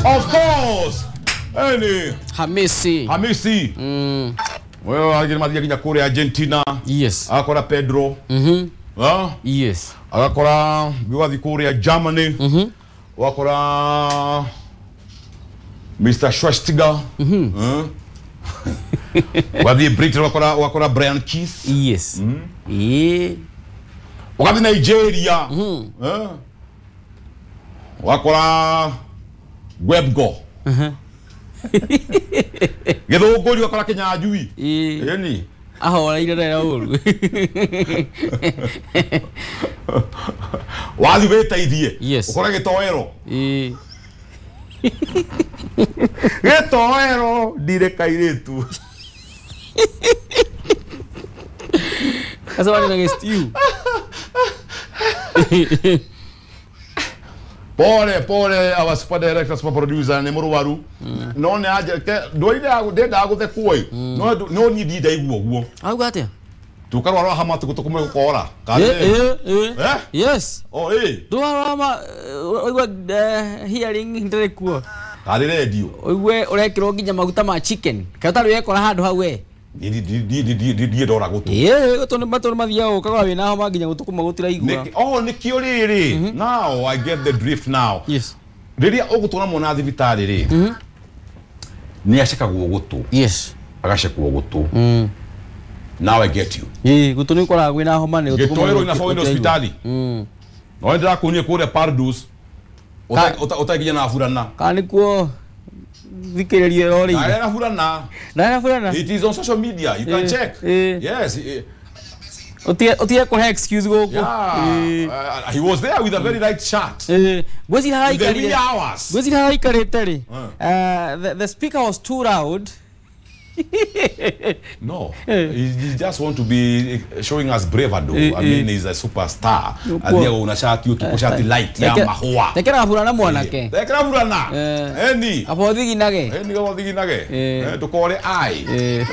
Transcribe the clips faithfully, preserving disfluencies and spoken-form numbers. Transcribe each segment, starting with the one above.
Of course. Eni Hamisi. Hamisi. Mm. Wewe agire mathia nginya kuria Argentina. Yes. Akora Pedro. Mhm. Ah? Yes. Agakora gwathi kuria Germany. Mhm. Wakora Mister Schweinsteiger. Mhm. Mm. Wathi Britain wakora wakora Brian Keith. Yes. Mm. Eh. Wakathi Nigeria. Mhm. Eh. Wakora Webgo. Mhm. Githunguri wakora Kinyanjui. Eh. Eni. Ahoreire rera uru. Wathi witeithie. Yes. Ukore gitoero. Eh. Gitoero ndire kairitu. Asa wani na stew. Pole pole our super director super producer ni muruwaru. No ne aje ndwaire ndenda guthekwo i. No no ni ndinda iguo guo. Auga atia? Tukarwara hama tugutukumwe gukora. Eh eh Eh? Yes. Oh eh. Ndwarwa hama oigua hearing ndire kuo. Kari radio. Oigue urekirwo nginya maguta ma chicken. Kai utari wekora handu hau we. Ndiĩ ndora gũtũ. Ĩĩ gũtũ nĩ matũ mathiaga ũkagwa wĩna homa nginya gũtũ kũmwe gũtiraigua. Oh nĩkĩo rĩrĩ. Now I get the drift now. Yes. Rĩrĩa ũgũtwara mwana thibitarĩ rĩ. Nĩ acekagwo gũtũ. Yes. Agacekwo gũtũ. Mm. Now I get you. Ĩĩ gũtũ nĩ ũkoraga kwĩna homa nĩ gũtũ kũmwe. Gĩtoero inafaa uende hospitali. Mm. No ndĩrakuonia kũrĩa Pardus. Ũtakinya na burana. Kana nĩkuo thikĩrĩria ĩrorĩire. Ndara burana. Ndara burana. It is on social media. You can eh, check. Eh. Yes. Eh. Utie utie kũhe excuse gũkũ. Yeah. Uh, he was there with a very light shirt. Eh. Ngwĩciria haraikarire. The hours. Ngwĩciria haraikarĩte rĩ. Uh, the, the speaker was too loud. No, he, he just want to be showing us bravado. Eh, I mean, he's a superstar. Athiaga una shati utuko shati light ya mahua. Tekera burana mwanake. Tekera burana. Eni. Abo thiginage. Eni gabo thiginage. Eh ndukore ai. Eh.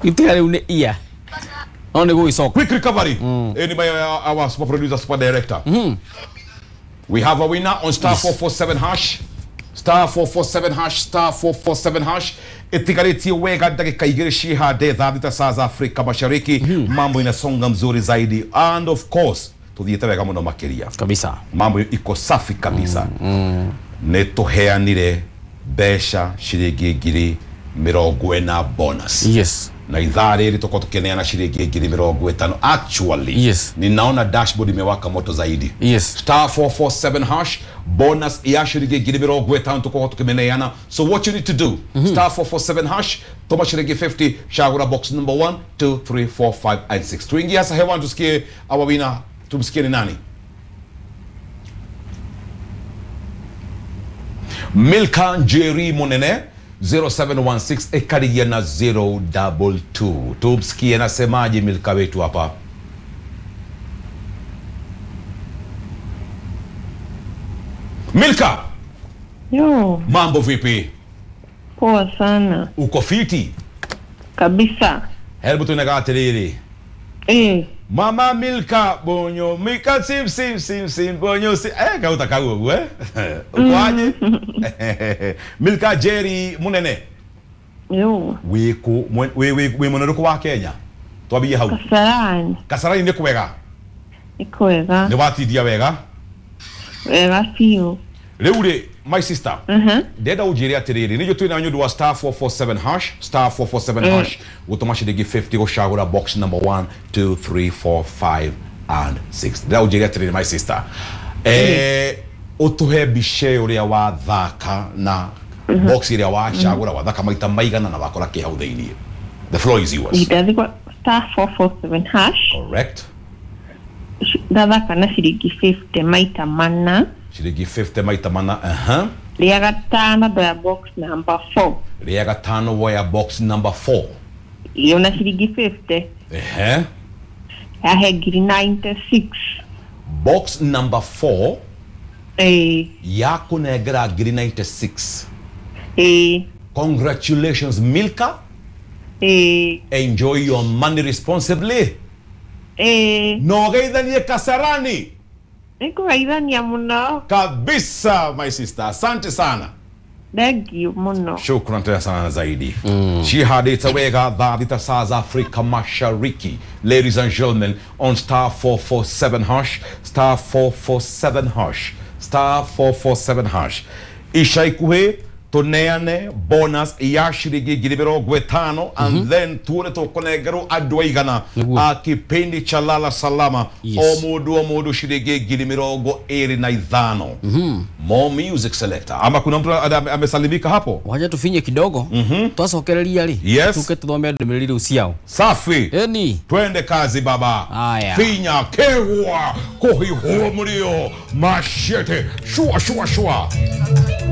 Itira riu ni ia. No ni gũgĩcoka. Quick recovery. Eni by our super producer, super director. Mm. We have a winner on star four four seven hash. Star four four seven hash, star four four seven hash. Itigarĩtie wega ndagĩka igĩrĩ ciĩhande thaa thita saa za Afrika Mashariki. Mambo inasonga mzuri zaidi and of course tuthiĩte wega mũno makĩria kabisa. Mambo iko safi kabisa. Mm. Nĩ tũheanire mbeca ciringi ngiri mĩrongo ĩna bonus. Yes. Na ithaa rĩrĩ tũkorwo tũkĩneana ciringi ngiri mĩrongo ĩtano. Actually, yes. Ninaona dashboard imewaka moto zaidi. Yes. Star four four seven hash bonus ya ciringi ngiri mĩrongo ĩtano tũkorwo tũkĩmeneana. So what you need to do, mm-hmm. star four four seven hash toma shilingi fifty chagura box number one, two, three, four, five and six. Tuingie hasa hewani tusikie our winner, tumsikie ni nani? Milka Njeri Munene zero seven one six ekarigia na zero double two. Tumsikie nasemaje Milka wetu hapa. Milka. Yo. Mambo vipi? Poa sana. Uko fiti? Kabisa. Hebu tunaga atiriri. Eh. Mama Milka bonyo Milka sim sim sim sim bonyo sim. Eh kauta kagu eh. Uko aje? Milka Jerry Munene. Yo. Wiku we we we muno wa Kenya. Twambie hau. Kasarani. Kasarani ni kwega. Ni kwega. Ni watindia wega? Wega biũ. Rĩu rĩ my sister. Mhm. Ndenda unjĩre atĩrĩrĩ nĩguo twĩna nĩ ũndũ wa star four four seven hash star four four seven hash gũtũma ciringi fifty gũcagũra box number one, two, three, four, five and six. Ndenda unjĩre atĩrĩrĩ my sister. Eh ũtũhe mbica ũrĩa wathaka na box ĩrĩa wacagũra wathaka maita maigana na wakora kĩ hau thĩinĩ. The floor is yours. Ndathikwa star four four seven hash. Correct. Ndathaka na ciringi fifty maita mana. Ciringi fifty maita mana. Aha. Rĩa gatano ndoya box number four. Rĩa gatano woya box number four. Iyo na ciringi fifty. Ehe. Yahe ngiri ninety six. Box number four. Eh. Yakunengera ngiri ninety six. Eh. Congratulations Milka. Eh. Enjoy your money responsibly. Eh. No geithanie Kasarani. Nĩngũgeithania mũno. Kabisa my sister. Asante sana. Thank you muno. Shukran tena sana zaidi. Mm. Shihadita wega dha saa za Afrika Mashariki. Ladies and gentlemen, on star four four seven hash, star four four seven hash, star four four seven hash. Isha ikuhe tuneane bonus ya shilingi ngiri mĩrongo ĩtano and then tuone tũkũnengerwo andũ aigana a kipindi cha Lala Salama. Yes. O mũndũ o mũndũ shilingi ngiri mĩrongo ĩrĩ na ithano. More music selector. Ama kuna mtu amesalimika hapo? Wacha tufinye kidogo. Twacokereria ri. Yes. Tuke tuthome ndũmĩrĩri rĩu ciao. Safi. Eni. Twende kazi baba. Aya. Finya kewa kuhihua mlio mashete shua shua shua.